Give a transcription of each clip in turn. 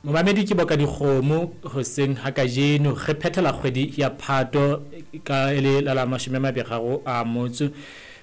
Momamedi ke boka dikgomo hoseng ha kajeno re phethela kgwedi ya Phato ka e le la la 23 a motso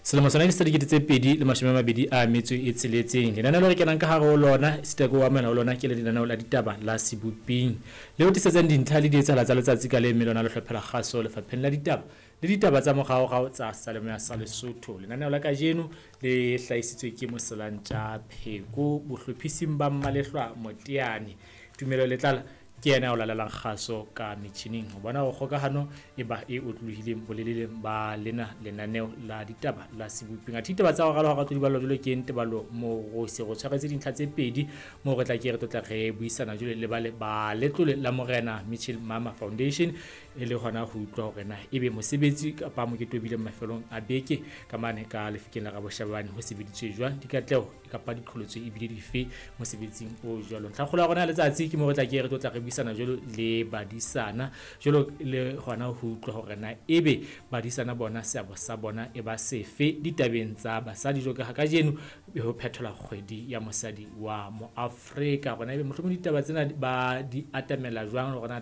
selemo sona ke sa 2026. Lenaneo le re kenang ka hare ho lona esita ke o amohela ho lona ke le lenaneo la ditaba la Seboping le o tisetsang dintlha le dietsahala tsa letsatsi ka le mme lona le hlophela kgaso lefapheng la ditaba le ditaba tsa moraorao tsa Salemoya sa Lesotho. Lenaneo la kajeno le hlahisitswe ke Moselantja Pheko bohlophising ba Mmalehlwa Moteane. Tumelo Letlala ke yena o lalelang kgaso ka metjhining ho bona hore kgokahano e ba e otlolohileng boleleleng ba lena lenaneo la ditaba la Seboping. Athe ditaba tsa ho ralwa hara tlo di ballwa jwalo ke Ntebalo Morosi. Re tshwaretse dintlha tse pedi moo re tla ke re tlotla re buisana jwale le bale ba letlole la Morena Mitchell Mama Foundation e le hona ho utlwa hore na ebe mosebetsi kapa mokete o bileng mafelong a beke ka mane ka lefikeng la Raboshabane ho sebeditswe jwang, dikatleho kapa diqholotso ebile dife mosebetsing o jwalo. Ntlhakgolo ya rona ya letsatsi ke mo re tla ke re tlotla re buisana jwalo le badisana jwalo le hona ho utlwa hore na ebe badisana bona seabo sa bona e ba sefe ditabeng tsa basadi jwalo ka ha kajeno ho phethelwa kgwedi ya mosadi wa Moafrika. Rona ebe mohlomong ditaba tsena ba di atamela jwang le hore na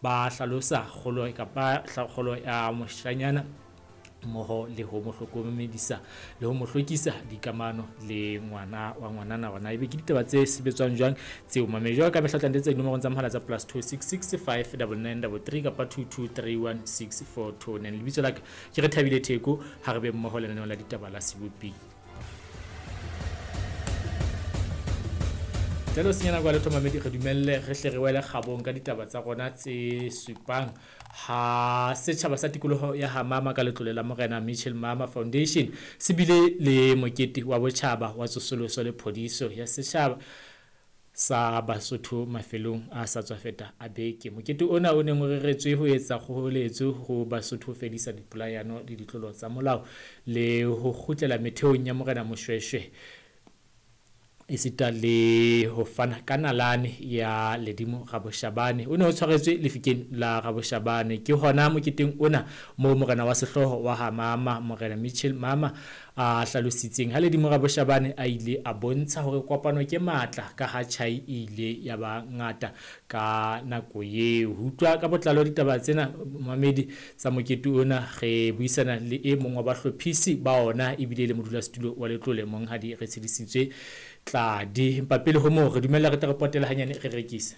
ba hlalosa kgolo kapa kgolo ya moshanyana mmoho le ho mo hlokomedisa le ho mo hlwekisa dikamano le ngwana wa ngwanana. Rona ebe ke ditaba tse sebetswang jwang tseo mamedi jwalo ka mehla tla ntse dinomorong tsa mohala tsa +266 59933 kapa 22316429. Lebitso la ka ke re Thabile Theko, ha re be mmoho lenaneo la ditaba la Seboping. Jalo senya nako ya letho mamedi, re dumelle re hle re wele kgabong ka ditaba tsa rona tse supang ha setjhaba sa tikoloho ya Hamama ka letlole la Morena Mitchell Mama Foundation se bile le mokete wa botjhaba wa tsosoloso le phodiso ya setjhaba sa Basotho mafelong a sa tswa feta a beke. Mokete ona o neng o reretswe ho etsa kgoholetso ho Basotho ho fedisa dipolayano le ditlolo tsa molao le ho kgutlela metheong ya Morena Moshweshwe esita le ho fana ka nalane ya Ledimo Raboshabane. O ne o tshwaretswe lefikeng la Raboshabane. Ke hona moketeng ona moo morena wa sehlooho wa Hamama, Morena Mitchell Mama, a hlalositseng ha Ledimo Raboshabane a ile a bontsha hore kopano ke matla ka ha tjhai e ile ya ba ngata ka nako eo. Ho utlwa ka botlalo ditaba tsena mamedi tsa mokete ona, re buisana le e mong wa bahlophisi ba ona ebile le modulasetulo wa letlole Monghadi Retshedisitswe Tladi. Empa pele ho moo re dumella re tle re potele hanyane re rekise.